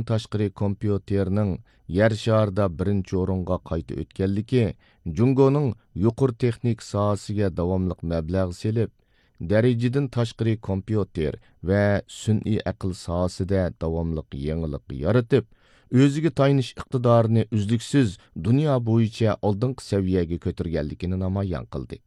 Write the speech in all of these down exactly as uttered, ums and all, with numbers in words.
تاشقىرى كومپيۇتېرنىڭ يەر شارىدا بىرىنچى ئورۇنغا قايتا ئۆتكەنلىكى جۇڭگونىڭ يۇقىرى تېخنىكا ساھەسىگە داۋاملىق مەبلەغ سېلىپ، دەرىجىدىن تاشقىرى كومپيۇتېر ۋە سۈنئىي ئەقىل ساھەسىدە داۋاملىق يېڭىلىق يارىتىپ، ئۆزىگە تايىنىش ئىقتىدارىنى ئۈزلۈكسىز دۇنيا بويىچە ئالدىنقى سەۋىيەگە كۆتۈرگەنلىكىنى نامايان قىلدى.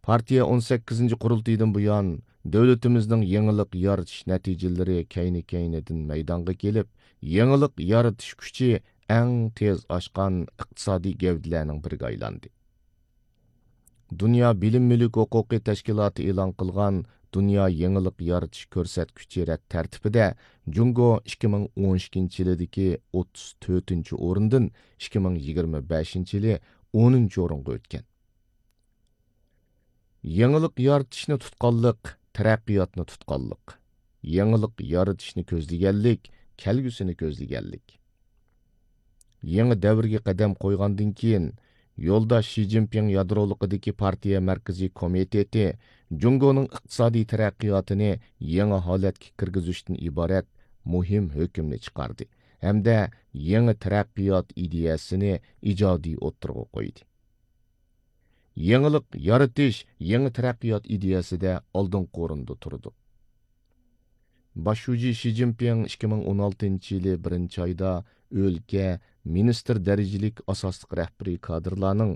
پارتىيە ئون سەككىزىنچى قۇرۇلتىيىدىن بۇيان، دۆلىتىمىزنىڭ يېڭىلىق يارىتىش نەتىجىلىرى كەينى-كەينىدىن مەيدانغا كېلىپ، يېڭىلىق يارىتىش كۈچى ئەڭ تېز ئاشقان ئىقتىسادىي گەۋدىلەرنىڭ بىرىگە ئايلاندى. دۇنيا بىلىم مۈلۈك ھوقۇقى تەشكىلاتى ئېلان قىلغان دۇنيا يېڭىلىق يارىتىش كۆرسەتكۈچى رەت تەرتىپىدە جۇڭگو ئىككى مىڭ ئون ئىككىنچى يىلىدىكى ئوتتۇز تۆتىنچى ئورۇندىن ئىككى مىڭ يىگىرمە بەشىنچى يىلى ئونىنچى ئورۇنغا ئۆتكەن. يېڭىلىق يارىتىشنى تۇتقانلىق، تەرەققىياتنى تۇتقانلىق. يېڭىلىق يارىتىشنى كۆزلىگەنلىك، كەلگۈسىنى كۆزلىگەنلىك. يېڭى دەۋرگە قەدەم قويغاندىن كېيىن، يولداش شى جىنپىڭ يادرولۇقىدىكى پارتىيە مەركىزىي كومىتېتى جۇڭگونىڭ ئىقتىسادىي تەرەققىياتىنى يېڭى ھالەتكە كىرگۈزۈشتىن ئىبارەت مۇھىم ھۆكۈمنى چىقاردى ھەمدە يېڭى تەرەققىيات ئىدىيەسىنى ئىجادىي ئوتتۇرىغا قويدى. يېڭىلىق يارىتىش يېڭى تەرەققىيات ئىدىيەسىدە ئالدىنقى ئورۇندا تۇرىدۇ. باش شۇجى شى جىنپىڭ ئىككى مىڭ ئون ئالتىنچى يىلى بىرىنچى ئايدا ئۆلكە، مىنىستىر دەرىجىلىك ئاساسلىق رەھبىرىي كادىرلارنىڭ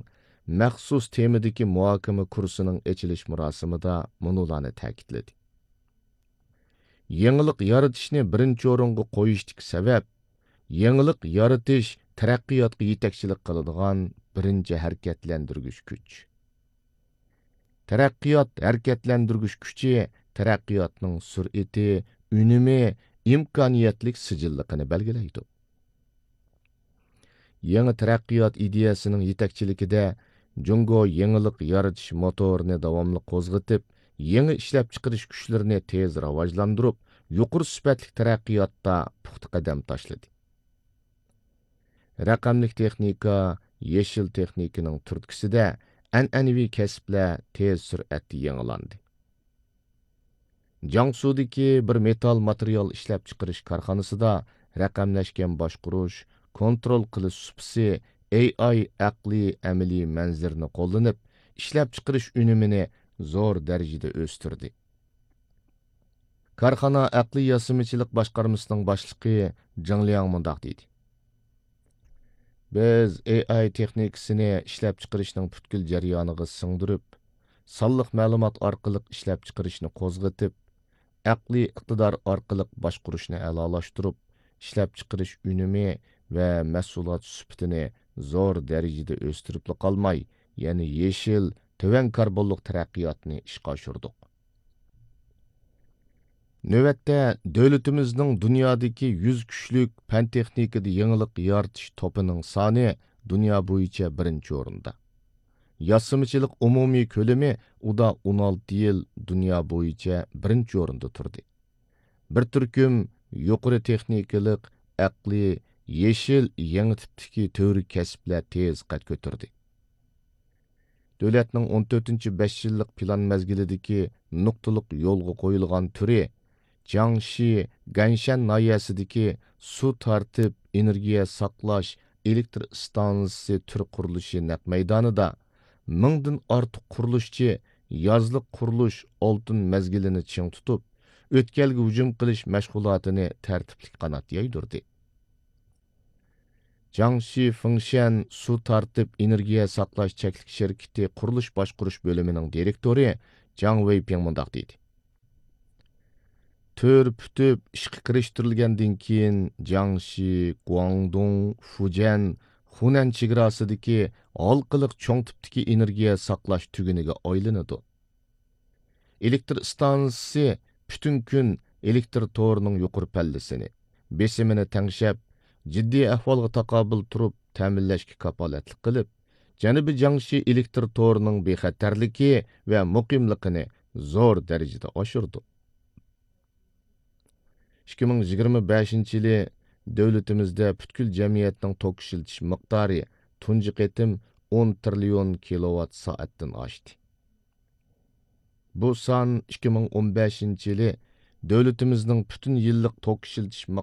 مەخسۇس تېمىدىكى مۇھاكىمە كۇرسىنىڭ ئېچىلىش مۇراسىمىدا مۇنۇلارنى تەكىتلىدى. يېڭىلىق يارىتىشنى بىرىنچى ئورۇنغا قويۇشتىكى سەۋەب، يېڭىلىق يارىتىش تەرەققىياتقا يېتەكچىلىك قىلىدىغان بىرىنچى ھەرىكەتلەندۈرگۈچ كۈچ. تەرەققىيات ھەرىكەتلەندۈرگۈچ كۈچى تەرەققىياتنىڭ سۈرئىتى، ئۈنۈمى، ئىمكانىيەتلىك سىجىللىقىنى بەلگىلەيدۇ. يېڭى تەرەققىيات ئىدىيەسىنىڭ يېتەكچىلىكىدە جۇڭگو يېڭىلىق يارىتىش موتورىنى داۋاملىق قوزغىتىپ، يېڭى ئىشلەپچىقىرىش كۈچلىرىنى تېز راۋاجلاندۇرۇپ، يۇقىرى سۈپەتلىك تەرەققىياتتا پۇختا قەدەم تاشلىدى. رەقەملىك تېخنىكا، يېشىل تېخنىكىنىڭ تۈرتكىسىدە ئەنئەنىۋى كەسىپلەر تېز سۈرئەتتە يېڭىلاندى. جياڭسۇدىكى بىر مېتال ماتېرىيال ئىشلەپچىقىرىش كارخانىسىدا رەقەملەشكەن باشقۇرۇش، كونترول قىلىش سۇپىسى، ئېي ئاي ئەقلىي ئەمەلىي مەنزىرىنى قوللىنىپ، ئىشلەپچىقىرىش ئۈنۈمىنى زور دەرىجىدە ئۆستۈردى. كارخانا ئەقلىي ياسىمىچىلىق باشقارمىسىنىڭ باشلىقى جېڭ لياڭ مۇنداق دېدى: بىز ئېي ئاي تېخنىكىسىنى ئىشلەپچىقىرىشنىڭ پۈتكۈل جەريانىغا سىڭدۈرۈپ، سانلىق مەلۇمات ئارقىلىق ئىشلەپچىقىرىشنى قوزغىتىپ، ئەقلىي ئىقتىدار ئارقىلىق باشقۇرۇشنى ئەلالاشتۇرۇپ، ئىشلەپچىقىرىش ئۈنۈمى ۋە مەھسۇلات سۈپىتىنى زور دەرىجىدە ئۆستۈرۈپلا قالماي، يەنە يېشىل، تۆۋەن كاربونلۇق تەرەققىياتنى ئىشقا ئاشۇردۇق. نۆۋەتتە، دۆلىتىمىزنىڭ دۇنيادىكى يۈز كۈچلۈك پەن-تېخنىكىدا يېڭىلىق يارىتىش توپىنىڭ سانى دۇنيا بويىچە بىرىنچى ئورۇندا. ياسىمىچىلىق ئومۇمىي كۆلىمى ئۇدا ئون ئالتە يىل دۇنيا بويىچە بىرىنچى ئورۇندا تۇردى. بىر تۈركۈم يۇقىرى تېخنىكىلىق، ئەقلىي، يېشىل، يېڭى تىپتىكى تۈۋرۈك كەسىپلەر تېز قەد كۆتۈردى. دۆلەتنىڭ ئون تۆتىنچى بەش يىللىق پىلان مەزگىلىدىكى نۇقتىلىق يولغا قويۇلغان تۈرى، جياڭشى گەنشەن ناھىيەسىدىكى سۇ تارتىپ، ئېنېرگىيە ساقلاش ئېلېكتر ئىستانسىسى تۈر قۇرۇلۇشى نەق مەيدانىدا مىڭدىن ئارتۇق قۇرۇلۇشچى يازلىق قۇرۇلۇش ئالتۇن مەزگىلىنى چىڭ تۇتۇپ، ئۆتكەلگە ھۇجۇم قىلىش مەشغۇلاتىنى تەرتىپلىك قانات يايدۇردى. جياڭشى فېڭشەن سۇ تارتىپ ئېنېرگىيە ساقلاش چەكلىك شىركىتى قۇرۇلۇش باشقۇرۇش بۆلۈمىنىڭ دىرېكتورى جاڭ ۋېيپىڭ مۇنداق دېدى: تۈر پۈتۈپ ئىشقا كىرىشتۈرۈلگەندىن كېيىن، جياڭشى، گۇاڭدۇڭ، فۇجيەن، خۇنەن چېگراسىدىكى ھالقىلىق چوڭ تىپتىكى ئېنېرگىيە ساقلاش تۈگۈنىگە ئايلىنىدۇ. ئېلېكتر ئىستانسىسى پۈتۈن كۈن ئېلېكتر تورىنىڭ يۇقىرى پەللىسىنى، بېسىمىنى تەڭشەپ، جىددىي ئەھۋالغا تاقابىل تۇرۇپ تەمىنلەشكە كاپالەتلىك قىلىپ، جەنۇبىي جياڭشى ئېلېكتر تورىنىڭ بىخەتەرلىكى ۋە مۇقىملىقىنى زور دەرىجىدە ئاشۇردۇق. ئىككى مىڭ يىگىرمە بەشىنچى يىلى دۆلىتىمىزدە پۈتكۈل جەمئىيەتنىڭ توك ئىشلىتىش مىقدارى تۇنجى قېتىم ئون تىرىليون كىلوۋات سائەتتىن ئاشتى. بۇ سان ئىككى مىڭ ئون بەشىنچى يىلى دۆلىتىمىزنىڭ پۈتۈن يىللىق توك ئىشلىتىش